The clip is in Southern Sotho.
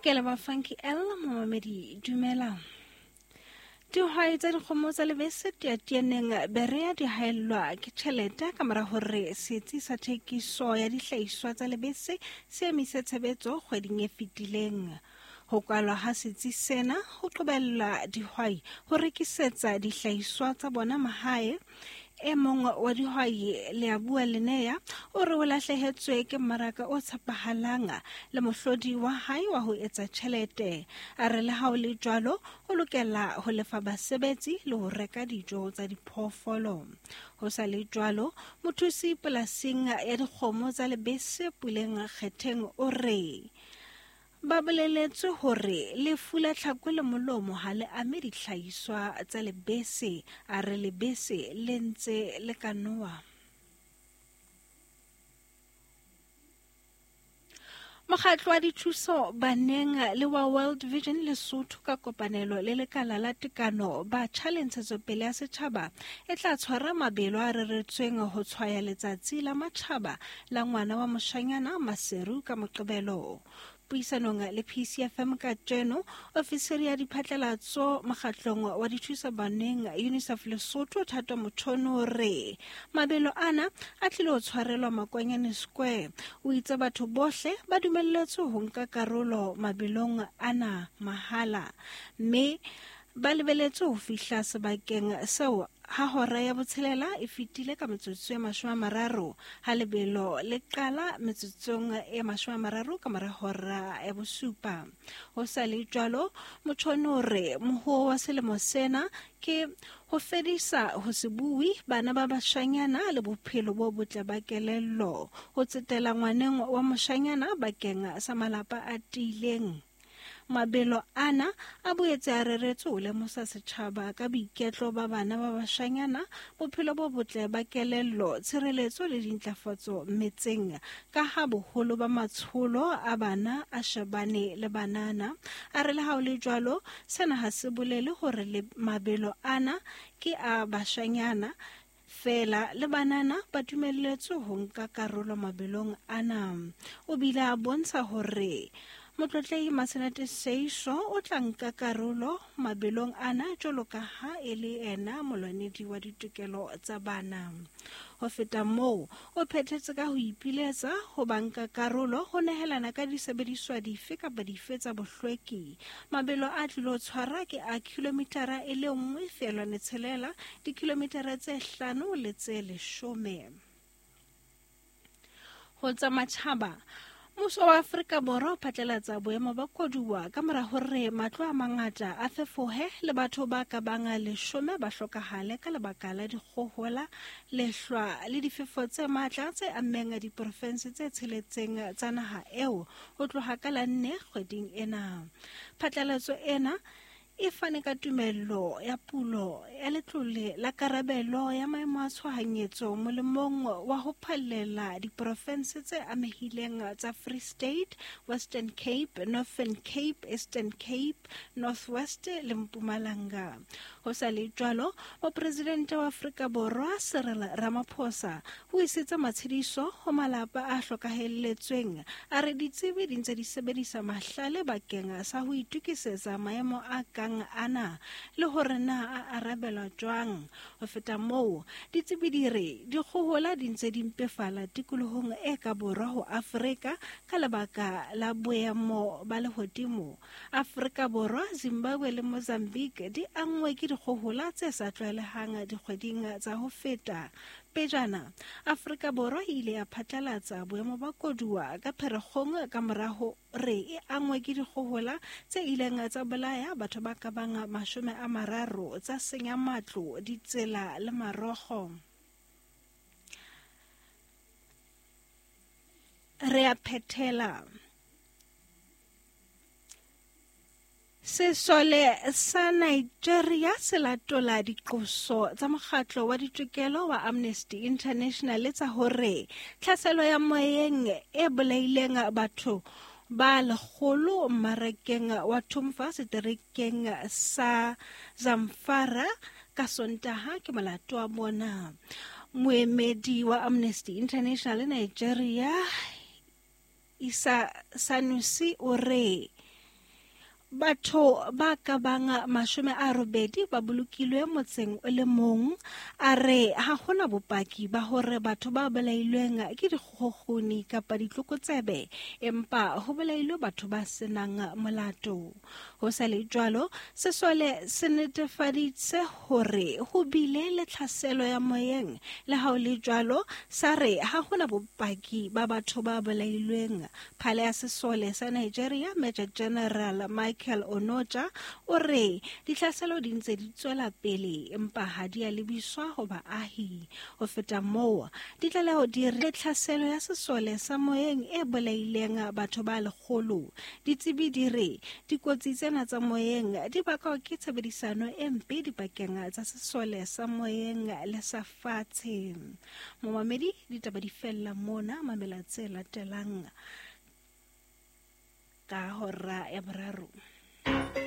Ke leba Funky L momamedi dumela. Dihwai tsa dikgomo tsa lebese teatianeng Berea di haellwa ke tjhelete ka mora hore setsi sa thekiso ya dihlahiswa tsa lebese se emise tshebetso kgweding e fetileng. Ho kwalwa ha setsi sena ho qobella dihwai ho rekisetsa dihlahiswa tsa bona mahae. E mong wa dihwai Leabua Lenea o re o lahlehetswe ke mmaraka o tshepahalang le mohlodi wa hae wa ho etsa tjhelete. A re le ha o le jwalo o lokela ho lefa basebetsi le ho reka dijo tsa diphoofolo. Ho sa le jwalo, mothusi polasing ya dikgomo tsa lebese Puleng Kgetheng o re Ba boleletswe hore lefu la tlhako le molomo ha le ame dihlahiswa tsa lebese. A re lebese le ntse le ka nowa. Mokgatlo wa dithuso baneng le wa World Vision Lesotho ka kopanelo le lekala la tekano batjha le ntshetsopele ya setjhaba e tla tshwara mabelo a reretsweng ho tshwaya letsatsi la matjhaba la ngwana wa moshanyana Maseru ka Moqebelo. Puisanong le PCFM kajeno, ofisiri ya diphatlalatso mokgatlong wa dithuso baneng UNICEF Lesotho Thato Mothono o re mabelo ana a tlile ho tshwarelwa Makwanyane Square. O itse batho bohle ba dumelletswe ho nka karolo mabelong ana mahala mme ba lebeletswe ho fihla sebakeng seo ha hora ya botshelela e fetile ka metsotso e 30, ha lebelo le qala metsotsong e 30 ka mora hora ya bosupa. Ho sa le jwalo, Motjhone o re mohuo wa selemo sena ke ho fedisa ho se bue bana ba bashanyana le bophelo bo botle ba kelello, ho tsetela ngwaneng wa moshanyana bakeng sa malapa a tiileng. Mabelo ana a boetse a reretswe ho lemosa setjhaba ka boiketlo ba bana ba bashanyana, bophelo bo botle ba kelello, tshireletso le dintlafatso metseng, ka ha boholo ba matsholo a bana a shebane le banana. A re le ha ho le jwalo, sena ha se bolele hore le mabelo ana ke a bashanyana feela, le banana ba dumelletswe ho nka karolo mabelong ana. O bile a bontsha hore Motlotlehi Masenate Seiso o tla nka karolo mabelong ana jwalo ka ha e le ena molwanedi wa ditokelo tsa bana. Ho feta moo, o phethetse ka ho ipiletsa ho banka karolo ho nehelana ka disebediswa dife kapa dife tsa bohlweki. Mabelo a tlilo tshwara ke a kilomitara e le 1.6, dikilomitara tse 5 le tse 10. Ho tsa matjhaba, Mmuso wa Afrika Borwa o phatlalatsa boemo ba koduwa ka mora hore matlo a mangata a fefohe le batho ba ka bang 10 ba hlokahale ka lebaka la dikgohola, lehlwa le difefo tse matla tse ammeng diporofense tse tsheletseng tsa naha eo ho tloha ka la 4 kgweding ena. Phatlalatso ena e fane ka tumello ya pulo ya letlole la karabelo ya maemo a tshohanyetso molemong wa ho phallela diporofense tse amehileng tsa Free State, Western Cape, Northern Cape, Eastern Cape, North West le Mpumalanga. Ho sa le jwalo, mopresidente wa Afrika Borwa Cyril Ramaphosa o isitse matshediso ho malapa a hlokahelletsweng. A re ditsebi di ntse di sebedisa mahlale bakeng sa ho itokisetsa maemo a kang ana le hore na a arabelwa jwang. Ho feta moo, ditsebi di re dikgohola di ntse di mpefala tikolohong e ka borwa ho Afrika ka lebaka la boemo ba lehodimo. Afrika Borwa, Zimbabwe le Mozambique di anngwe ke dikgohola tse sa tlwaelehang dikgweding tsa ho feta. Pejana, Afrika Borwa e ile ya phatlalatsa boemo ba koduwa ka Pherekgong ka mora hore e angwe ke dikgohola tse ileng tsa bolaya batho ba ka bang 30, tsa senya matlo, ditsela le marogo. Re a phethela. Sesole sa Nigeria se latola diqoso tsa mokgatlo wa ditokelo wa Amnesty International tsa hore tlhaselo ya moyeng e bolaileng batho ba 100 mmarakeng wa Tumfa seterekeng sa Zamfara ka Sontaha ke molato wa bona. Moemedi wa Amnesty International Nigeria Isa Sanusi o re Batho ba ka bang 80 ba bolokilwe motseng o le mong. A re ha hona bopaki ba hore batho ba bolailweng ke dikgokgoni kapa ditlokotsebe, empa ho bolailwe batho ba senang molato. Ho sa le jwalo, sesole se netefaditse hore ho bile le tlhaselo ya moyeng. Le ha ho le jwalo, sa re ha hona bopaki ba batho ba bolailweng. Phale ya sesole sa Nigeria, Major General Michael Onoja, o re ditlhaselo di ntse di tswela pele empa ha di a lebiswa ho baahi. Ho feta moo, ditlaleho di re tlhaselo ya sesole sa moyeng e bolaileng batho ba 100. Ditsebi di re dikotsi tsena tsa moyeng di bakwa ke tshebedisano e mpe dipakeng tsa sesole sa moyeng le sa fatshe. Momamedi, ditaba di fella mona, mamela tse latelang ka hora ya 3.